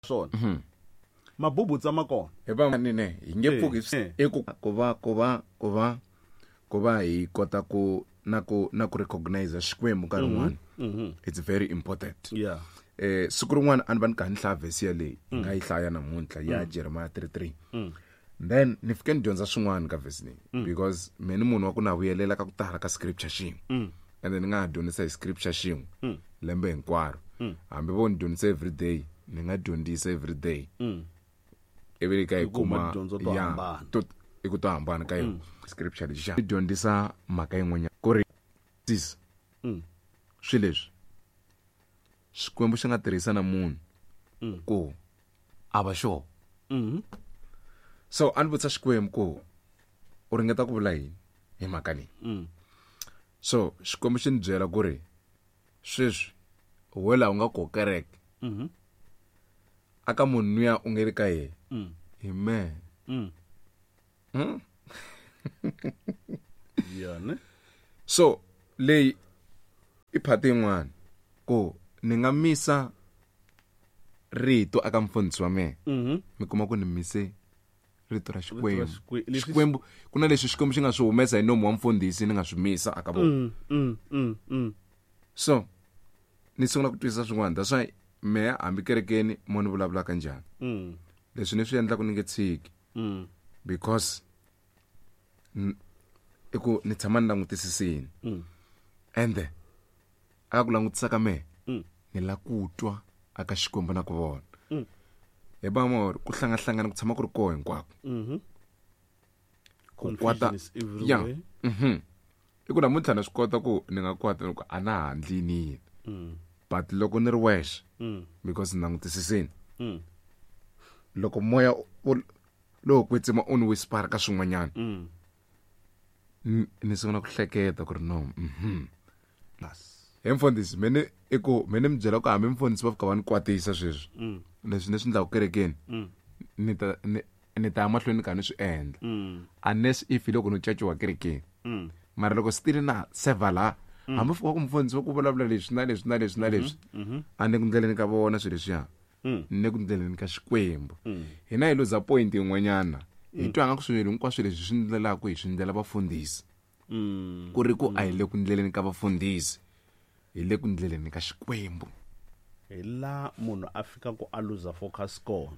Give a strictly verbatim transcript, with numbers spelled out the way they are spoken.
Swona mabubutsa ma kona hi va nene hi nge pfuki i ku ku va ku va ku va ku va hi kota ku na ku na ku recognize Xikwembu nkarhi wun'wana it's very important. Yeah. Eh siku rin'wana a ni va ni kha ni hlaya verse yaleyi hi nga yi hlaya namuntlha ya Jeremiah three three, then ni fike ni dyondza swin'wana ka verse leyi, because me ni munhu wa ku na vuyelela ka ku tala ka scripture xin'we, and then ni nga ha dyondzisa hi scripture xin'we lembe hinkwaro. Hambi vo ni dyondzisa every day, ni nga dyondzisa every day ivi ka hi Hi kuma kuma tidyondzo to ya, hambana. to i ku to hambana ka yona scripture lexi xa dyondzisa mhaka yin'wanyana ku ri sis swi leswi Xikwembu xi nga tirhisa na munhu ku a va xona. So a ni vutisa Xikwembu ku u ringeta ku vula yini hi mhaka leyi. So Xikwembu xi ni byela ku ri sweswi we laha u nga ko kereke aka munhu luya u nge le ka yena hi mehe. Yeah, ne? So leyi i phati yin'wana ku ni nga misa rito aka mfundhisi wa mehe, mi kuma ku ni mise rito ra Xikwembu. Xikwe- leswi- Xikwembu ku na leswi Xikwembu xi nga swi humesa hi nomu wa mfundhisi, ni nga swi misa aka vona. Mm, mm, mm. So ni sungula ku twisisa swin'wana. That's why mehe hambi kerekeni mo ni vulavulaka njhani, Mm. leswi ni swi endlaka ni nge tshiki, Mm. because n- i ku ni tshama ni langutisisini, ende aka ku langutisa ka mehe ni la ku twa aka Xikwembu na ku vona hi ba mori ku hlangahlangana ku tshama ku ri koho hinkwako ku kwata. Confusion is Ya. everywhere. Mhm i ku namuntlha na swi kota ku ni nga kwata loko a na ha ndli yini, but loko ni ri wexe, because ni langutisisini, loko moya wo- lowo kwetsima u ni whisper ka swin'wanyana, ni ni sungula ku hleketa ku ri no mhm he mfundhisi me ni i ku me ni mi byela ku hambi mfundhisi va fika va ni kwatisa sweswi, leswi ni swi endlaka kerekeni ni ta ni ni ta ya mahlweni ni kha ni swi endla, unless if hi loko no caciwa kerekeni. Mara loko still na seva laha, hambi fika ku mfundhisi va ku vulavula leswi na leswi na leswi na leswi, a ni ku ndleleni ka vona swilo leswiya, ni ku ndleleni ka Xikwembu. Hina hi luza point yin'wanyana, hi twa nga ku swilo hinkwaswo leswi swi ndlelaka hi swi ndlela vafundhisi, ku ri ku a hi le ku ndleleni ka vafundhisi, hi le ku ndleleni ka Xikwembu. Hi la munhu a fika ku a luza focus kona.